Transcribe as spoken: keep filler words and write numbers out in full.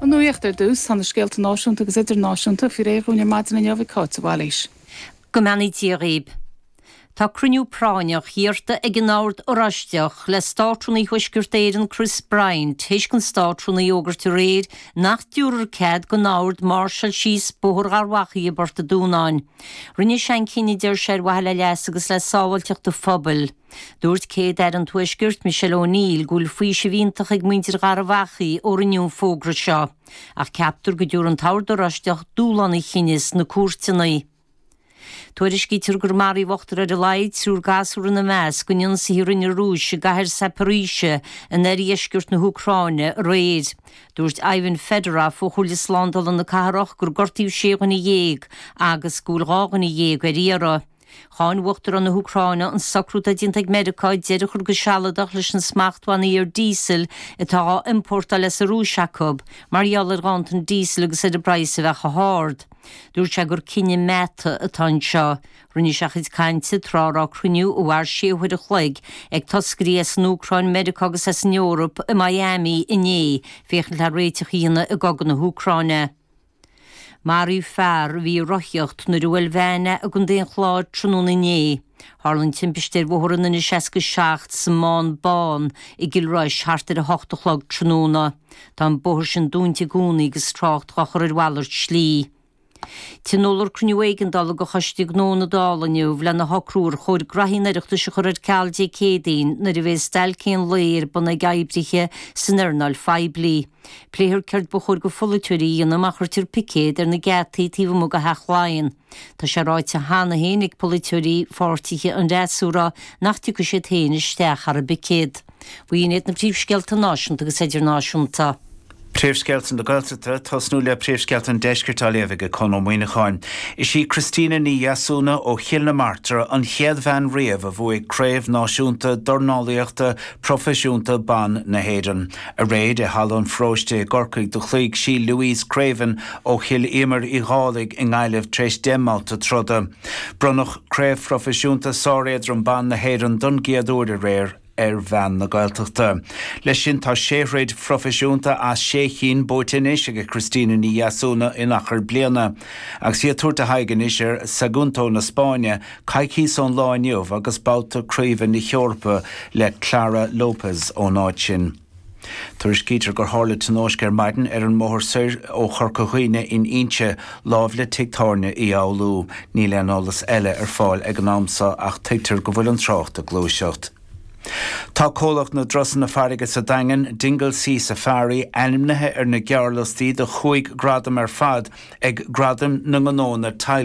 An nuacht ar dtús tá na scéalta náisiúnta agus idirnáisiúnta faoi réir ar maidin inniu ag Cáit Bhailís. Go mbeannaí Dia dhaoibh. Tá cruinniú práinneach iarrta ag an Ord Oráisteach le Státrúnaí Thuaisceart Éireann Chris Bryant théis don Státrúnaí fhógairt aréir nach dtabharfar cead don Ord máirseáil síos Bóthar Gharbhachaidh i bPort an Dúnáin. Rinne sé an cinneadh deir sé ar mhaithe le leas agus le sábháilteacht an phobail. Dúirt Céad-Aire an Tuaiscirt Michelle O'Neill go bhfuil faoiseamh iontach ag muintir Gharbhachaidh ó rinneadh an fógra seo, ach ceaptar go dtabharfaidh an tOrd Oráisteach dúshlán an chinnidh sna cúirteanna. Tuairiscítear gur maraíodh ochtar ar a laghad triúr gasúr ina measc in ionsaithe a rinne an Rúis i gcathair Zaporizhzhia in oirdheisceart na hÚcráine aréir. Dúirt Ivan Fedorov ó Chomhairle Slándála na Cathrach gur gortaíodh sé dhuine dhéag agus go bhfuil dhá dhuine dhéag ar iarraidh. Cháin Uachtarán na hÚcráine an socrú atá déanta ag Meiriceá deireadh a chur go sealadach leis na smachtbhannaí ar díosal atá á iompórtáil as an Rúis acu mar gheall ar ghanntan díosail agus ar an bpraghas a bheith chomh hard. Dúirt sé gur cinneadh meata atá anseo. Rinne sé a chuid cainte tráth a raibh cruinniú a mhair sé huaire a chloig ag toscairí as an Úcráin, Meiriceá agus as an Eoraip i Miami inné féachaint le réiteach a dhéanamh i gcogadh na hÚcráine. Maraíodh fear a bhí ag rothaíocht nuair a bhuail veain é i gContae an Chláir tráthnóna inné. Tharla an timpiste ar bhóthar an N seasca seacht sa mBán Bán i gCill Rois thart ar a hocht a chlog tráthnóna. Tá an bóthar sin dúnta i gcónaí agus trácht á chur ar mhalairt slí. Tionólfar cruinniú éigeandála de Choiste Gnó na Dála inniu lena shocrú ar chóir graithí an Oireachtais a chur ar ceal Dé Céadaoin nuair a bheidh stailc aon lae ar bun ag oibrithe san earnáil phoiblí. Pléifear céard ba chóir do pholaiteoirí a dhéanamh má chuirtear picéad ar na geataí taobh amuigh de Theach Laighean. Tá sé ráite cheana féin ag polaiteoirí pháirtithe an fhreasúra nach dtiocfaidh siad féin isteach thar an bpicéad. B'in iad na príomhscéalta náisiúnta agus idirnáisiúnta. Príomhscéalta na Gaeltachta tosnú le príomhscéalta an deiscirt á léamh ag Conn Ó Muíneacháin. Is í Christina Ní Dheasúna ó Chill na Martra an chéad bhean riamh a bhuaigh craobh náisiúnta dornálaíochta proifisiúnta ban na hÉireann. Aréir i Halla an Pharóiste i gCorcaigh do chloígh sí Louise Craven ó Chill Íomair Uí Dhálaigh i nGaillimh tar éis deich mbabhta troda. Bronnadh craobh phroifisiúnta sáréadrom ban na hÉireann don gcéad uair aréir ar bhean na Gaeltachta. Leis sin tá sé throid phroifisiúnta as sé cinn buaite anois ag Christina Ní Dheasúna in achar bliana. Agus í ag tabhairt a haghaidh anois ar Sagunto na Spáinne, coicíos ón lá inniu agus babhta craoibhe na hEorpa le Clara Lopez ón áit sin. Tuairiscítear gur tharla tionóisc ar maidin ar an mbóthar soir ó Chorca Dhuibhne in Inse láimh le tigh tábhairne Uí Fhoghlú. Níl aon eolas eile ar fáil ag an am seo ach tuigtear go bhfuil an trácht ag gluaiseacht. Tá comhlacht na dturasanna farraige sa Daingean, Dingle Sea Safari, ainmnithe ar na gearrliostaí do chúig gradam ar fad ag Gradaim na nGnónna Teaghlaigh.